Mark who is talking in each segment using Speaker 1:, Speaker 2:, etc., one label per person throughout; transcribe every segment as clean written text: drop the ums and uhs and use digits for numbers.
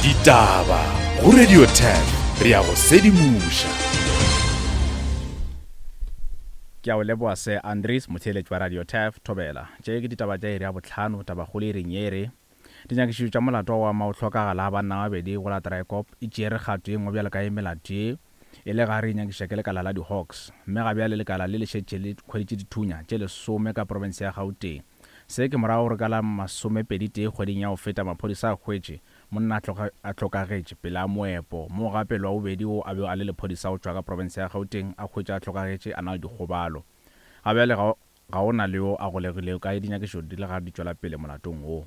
Speaker 1: Ditaba go Radio 10 re ya go sedimoša.
Speaker 2: Ke a o leboa Sir Andries, motheeletši wa Radio Turf, Thobela. Tše ke ditaba tša iri ya bohlano, tabakgolo iring ye e re, Dinyakišišo tša molato wa go ama go hlokagala ga banna ba babedi go la Draaikop e tšeere kgato ye nngwe bjalo ka ye melato ye e le gare e nyakišiša ke lekala la di-Hawks mme ga bjale lekala le le šetše le hweditše dithunya tše lesome ka profense ya Gauteng. Se ke morago gore ka la masomepeditee kgweding ya go feta maphodisa a hwetše monna a hlokagetše pele a moepo moo gape lwa bobedi wo a bego a le lephodisa go tšwa ka profense ya Gauteng a hwetše a hlokagetše a na le dikgobalo. Ga bjale ga Ga go na le yo a golegilego ka ge dinyakišišo di le gare di tšwela pele molatong wo.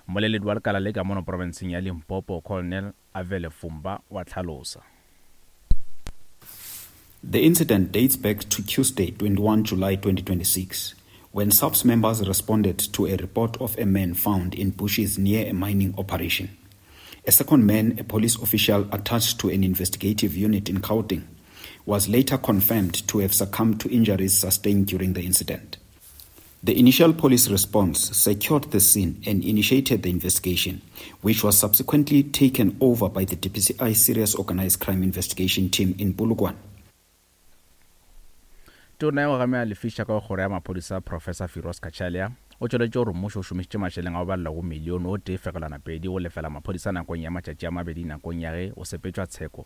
Speaker 2: Mmoleledi wa lekala le ka mono profenseng ya Limpopo, Colonel Avele Fumba o a hlalosa.
Speaker 3: The incident dates back to Tuesday, 21 July 2026, when SAPS members responded to a report of a man found in bushes near a mining operation. A second man, a police official attached to an investigative unit in Gauteng, was later confirmed to have succumbed to injuries sustained during the incident. The initial police response secured the scene and initiated the investigation, which was subsequently taken over by the DPCI Serious Organized Crime Investigation Team in Polokwane.
Speaker 2: Tona ya go gamela lefiša ka go kgoro ya maphodisa Professor Firoz Cachalia o tšweleditše gore mmušo o šomišitše mašeleng a go balelwa go milione o tee fegelwana pedi go lefela maphodisa nakong ya matšatši a mabedi nakong ya ge o sepetšwa tsheko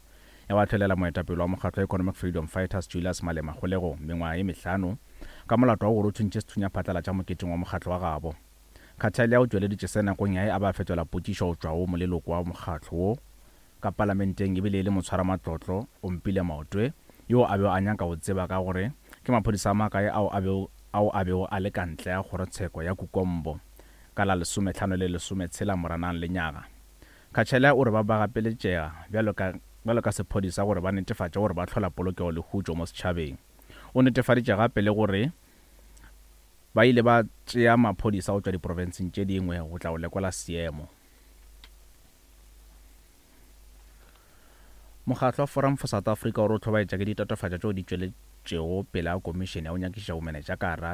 Speaker 2: ya go ahlolela moetapele wa mokgatlo wa Economic Freedom Fighters Julius Malema kgolegong mengwaga ye mehlano ka molato wa gore o thuntše sethunya phatlalatša moketeng wa mokgatlo wa gabo. Cachalia o tšweleditše se nakong ya ge a be a fetola potšišo go tšwa go moleloko wa mokgatlo wo ka palamenteng ebile e le motshwaramatlotlo, Ompile Maotwe, yo a bego a nyaka go tseba ka gore ke maphodisa a makae ao a bego ao a bego a le ka ntle ga kgorotsheko ya Kukombo ka la lesomehlano le lesometshela Moranang lenyaga. Khatshela o re ba ba gapeletšega bjalo ka bjalo ka sephodisa gore ba netefatše gore ba hlola polokego le khutšo mo setšhabeng. O netefaditše gape le gore ba ile ba tšea maphodisa go tšwa diprofenseng tše dingwe go tla go lekola seemo. Mokgatlo wa Forum for South Africa o re o hlobaetša ke ditatofatšo tšeo di tšweletšego pele ga komišene ya go nyakišiša bomenetša ka gare ga.